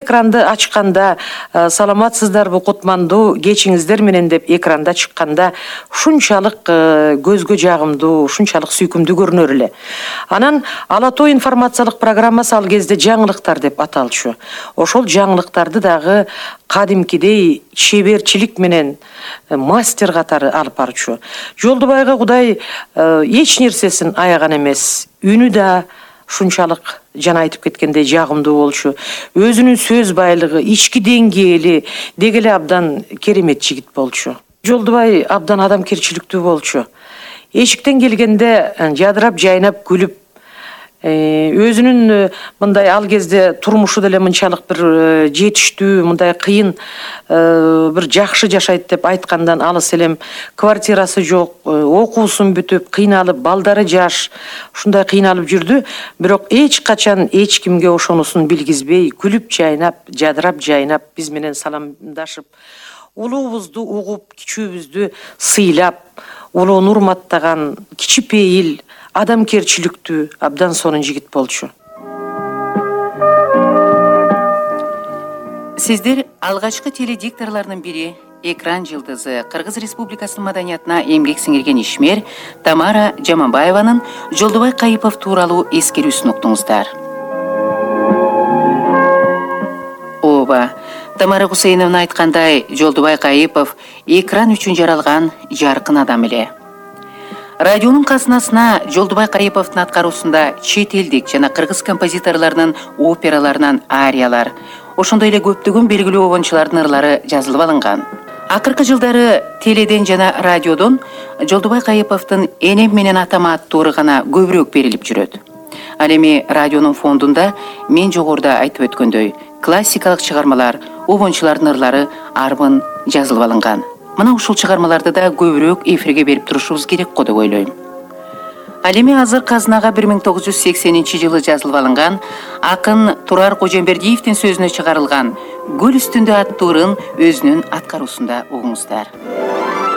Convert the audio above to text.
экранды ачканда, саламатсыздарбы кутмандуу кечиңиздер менен деп экранда чыкканда ушунчалык көзгө жагымдуу, ушунчалык сүйкүмдүү көрүнөр эле. Анан Ала Тоо информациялык программасы ал кезде жаңылыктар деп аталчу. Ошол жаңылыктарды дагы кадимкидей чеберчилик менен мастер катары алып барчу. Жолдубайга Кудай эч нерсесин аяган эмес. Үнү да ушунчалык жана айтып кеткендей жагымдуу болчу. Өзүнүн сөз байлыгы, ички деңгээли деги эле абдан керемет жигит болчу. Жолдубай абдан адамкерчиликтүү болчу. Эшиктен келгенде жадырап, жайнап, күлүп, өзүнүн мындай ал кезде турмушу деле мынчалык бир жетиштүү, мындай кыйын бир жакшы жашайт деп айткандан алыс элем. Квартирасы жок, окуусун бүтүп, кыйналып, балдары жаш, ушундай кыйналып жүрдү. Бирок эч качан эч кимге ошонусун билгизбей, күлүп жайнап, жадырап жайнап, биз менен саламдашып, улуубузду угуп, кичүүбүздү сыйлап, улууну урматтаган, кичипейил, адамкерчиликтүү, абдан сонун жигит болчу. Сиздер алгачкы теледикторлордун бири, экран жылдызы, Кыргыз Республикасынын маданиятына эмгек сиңирген ишмер Тамара Жаманбаеванын Жолдубай Кайыпов тууралуу эскерүүсүн уктуңуздар. Ооба, Тамара Гусейновна айткандай, Жолдубай Кайыпов экран үчүн жаралган жаркын адам эле. Радионун казынасына Жолдубай Кайыповдун аткаруусунда чет элдик жана кыргыз композиторлорунун операларынан ариялар, ошондой эле көптөгөн белгилүү обончулардын ырлары жазылып алынган. Акыркы жылдары теледен жана радиодон Жолдубай Кайыповдун энем менен атама аттуу ыры гана көбүрөөк берилип жүрөт. Ал эми радионун фондунда мен жогоруда айтып өткөндөй классикалык чыгармалар, обончулардын ырлары арбын жазылып алынган. Мына ушул чыгармаларды да көбүрөөк эфирге берип турушубуз керек го деп ойлойм. Ал эми азыр казынага 1980-жылы жазылып алынган акын Турар Кожомбердиевдин сөзүнө чыгарылган Гүл үстүндө аттуу ырын өзүнүн аткаруусунда угуңуздар.